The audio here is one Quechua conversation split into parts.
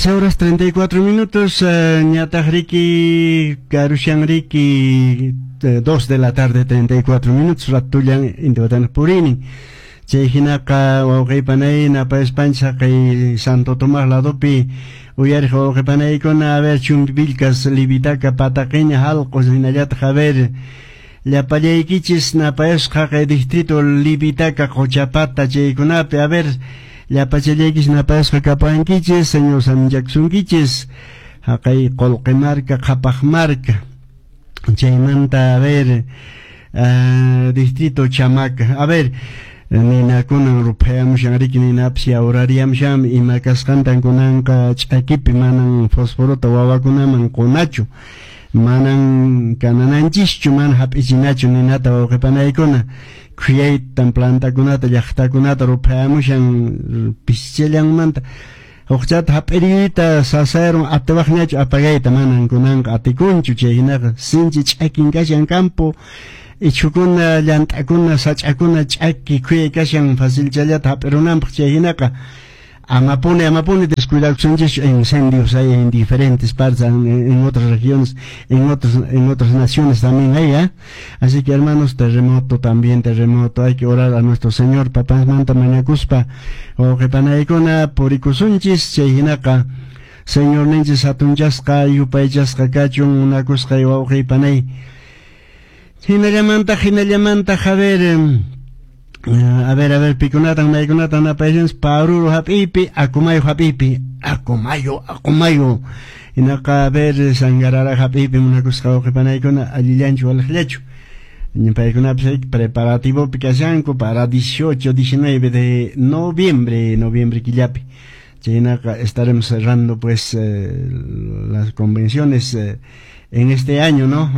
13 horas 34 minutos, ñataq riki karushan riki 2 de la tarde 34 minutos, ratullan intiwatana purini. Chay hinaqa wawqiypanay napayaspanchik kay Santo Tomás ladopi uyariq wawqipanaykuna, a ver, Chumbivilcas, Livitaca, Pataqueña, Halqos, hinallataq, a ver, llapallaykichis napayasqa kay distrito Livitaca, Qochapata chaykunapi, a ver, llapachallaykichis napayasqa kapankichis, Señor saminchakusunkichis, haqay Qolqe marka, Qhapaq marka, chaymanta, a ver, distrito Chamaca, a ver, ninakunan ruphayamushan riki, ninapas yawrariyamushanmi, ima kasqantan kunanqa ch'akipi manan fosforota wawakunaman qunachu, manan kanananchischu, mana hap'ichinachu ninata wawqipanaykuna, khuyaytan plantakunata llaqtakunata ruphayamushan pischallanmanta, huqchata hap'iriyta sasayarun atiwaqñachu apagayta, manan kunanqa atikunchu, chay hinaqa sinchi ch'akin kashan campo, ichhukuna, llant'akuna, sach'akuna ch'aki khuyay kashan facilchallata hap'irunanpaq, chay hinaqa amapuni, amapuni descuidakusunchis, incendios hay en diferentes partes, en otras regiones, en otras naciones también hay, ¿eh? Así que, hermanos, terremoto también, terremoto, hay que orar a nuestro Señor, papasmanta mañakuspa, wawqipanaykuna purikusunchis, chay hinaqa Señor ninchis hatunchasqa, yupaychasqa kachun, munakusqay wawqipanay. Hinallamanta, hinallamanta, a ver, a ver, a ver, pikunatan, maykunatan napaysanchis, Paruro hap'ipi, Acomayo hap'ipi, Acomayo, Acomayo. Hinaqa, a ver, Sangarara hap'ipi munakusqa wawqipanaykuna allillanchu waliqllachu. Paykunapas preparativopi kashanku para 18, 19 de noviembre, noviembre killapi. Chaynaqa estaremos cerrando pues las convenciones en este año, ¿no?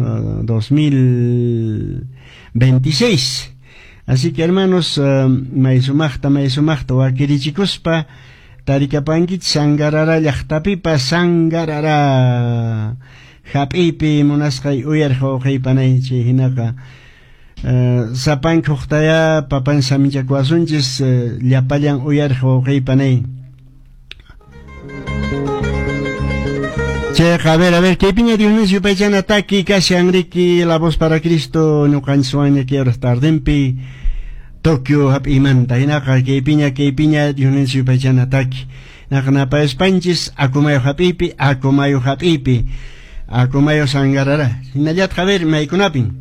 2026. Así que, hermanos, may sumaqta, may sumaqta wakirichikuspa tarikapankichis Sangarara llaqtapipas, Sangarara hap'ipi munasqay uyariq wawqiypanay, chay hinaqa sapanka huqtaya papan saminchakuwasunchis, llapallan uyariq wawqiypanay. Chayqa, a ver, kaypiña Dios yupaychana taki kashan riki La Voz para Cristo ñuqanchiswanña kay horas tardenpi Tokio hap'imanta, hinaqa kaypiña, kaypiña Dios yupaychana taki. Hinaqa napayaspanchis Acomayo hap'ipi, Acomayo hap'ipi, Acomayo Sangarara. Hinallataq, a ver, maykunapin.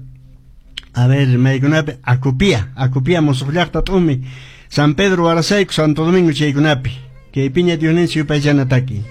A ver, maykunapi Acopia, Acopia musuq llaqta t'umi, San Pedro Huarasayku, Santo Domingo chaykunapi. Kaypiña Dios yupaychana taki.